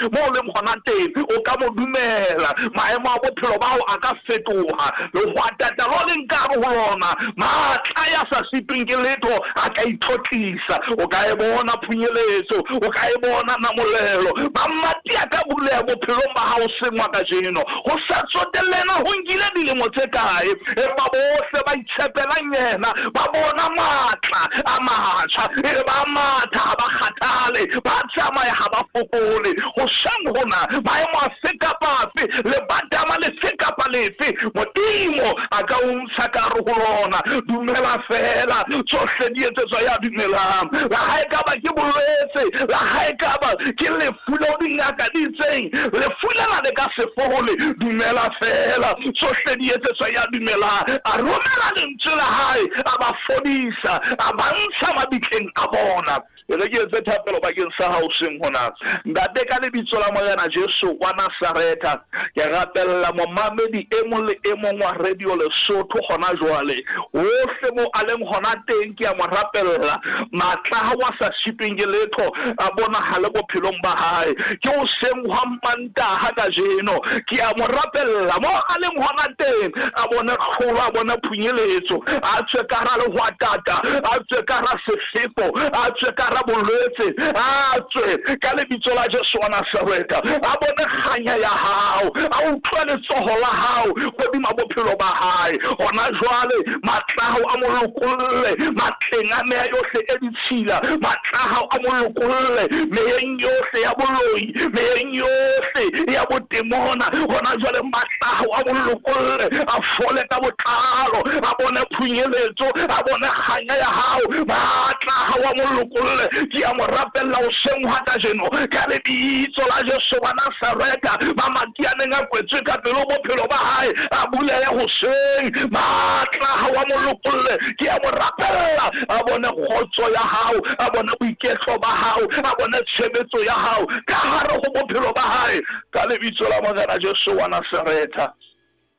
Mo o leng gona teng, o ka mo dumela. Maemo a bophelo ba gago a ka fetoga. Lehwatata lo leng ka gare go lona, maatla ya sa sitweng ke letho a ka itlotlisa. O ka e bona phunyeletso, o ka e bona namolelo. Mamati a ka buleha bophelong ba gago sengwa kajeno. Go sa tsotelle na go nkile dilemo tse kae, empa bohle ba itshepelang yena ba bona matla a matjha. E re ba matha ha ba kgathale, ba tsamaya ha ba fokole. Hoseng hona, maemo afe kapa afe, lebatama lefe kapa lefe, Modimo a ka o ntsha ka hare ho lona. Dumela feela, tsohle di etsetswa ya dumelang. La ha ekaba ke bolwetse, la ha ekaba ke lefu leo dingaka di itseng lefu lena le ka se fole, dumela feela, tsohle di etsetswa ya dumelang. A romela lentswe la hae, a ba fodisa, a ba ntsha mabitleng a bona. E re ke etse thapelo bakeng sa hao hoseng hona. Ntate, ka lebitso la Morena Jesu wa Nasaretha, ke rapella momamedi e mong le e mong wa Radio Lesotho hona jwale. Hohle moo a leng hona teng, ke a mo rapella. Matla a hao a sa sitweng ke letho a bonahale bophelong ba hae. Ke hoseng hwa Mantaha kajeno. Ke a mo rapella moo a leng hona teng, a bone tlholo, a bone phunyeletso, a tswe ka hara lehwatata, a tswe ka hara sefefo, a tswe ka hara bolwetse, a tswe ka lebitso la Jesu wa Nasaretha, a bone kganya ya hao, a utlwe letsoho la hao hodima bophelo ba hae. Hona jwale matla a hao a mo lokolle matleng a meya yohle e ditshila, matla a hao a mo lokolle meyeng yohle ya boloi, meyeng yohle ya botemona. Hona jwale matla a hao a mo lokolle, a fole ka botlalo, a bone phunyeletso, a bone kganya ya hao. Matla a hao a mo lokolle. Ke a mo rapella hoseng hwa kajeno ka lebitso la Jesu wa Nasaretha. Mamati a neng a kwetswe ka pele ho bophelo ba hae a bulehe hoseng. Matla a hao a mo lokolle. Ke a mo rapella a bone kgotso ya hao, a bone boiketlo ba hao, a bone tshebetso ya hao ka hare ho bophelo ba hae ka lebitso la Morena Jesu wa Nasaretha.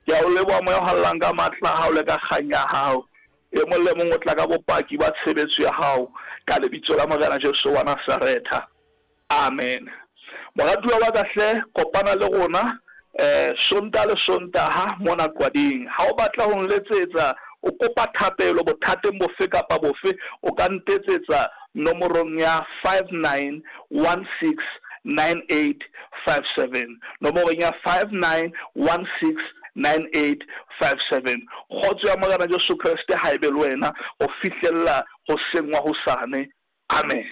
Ke a o leboha moya o hallang ka matla a hao le ka kgang ya hao. E mong le mong o tla ka bopaki ba tshebetso ya hao ka lebitso la Morena Jesu wa Nasaretha. Amen. Moratuwa wa ka hle, kopana le rona eh Sontaha le Sontaha mona Qwading. Ha o batla ho nletsetsa o kopa thapelo bothateng bofe kapa bofe, o ka ntetsetsa nomorong ya 59169857. Nomorong ya 59169857. Kgotso ya Morena Jesu Kreste ha e be le wena ho fihlella hoseng wa hosane. Amen.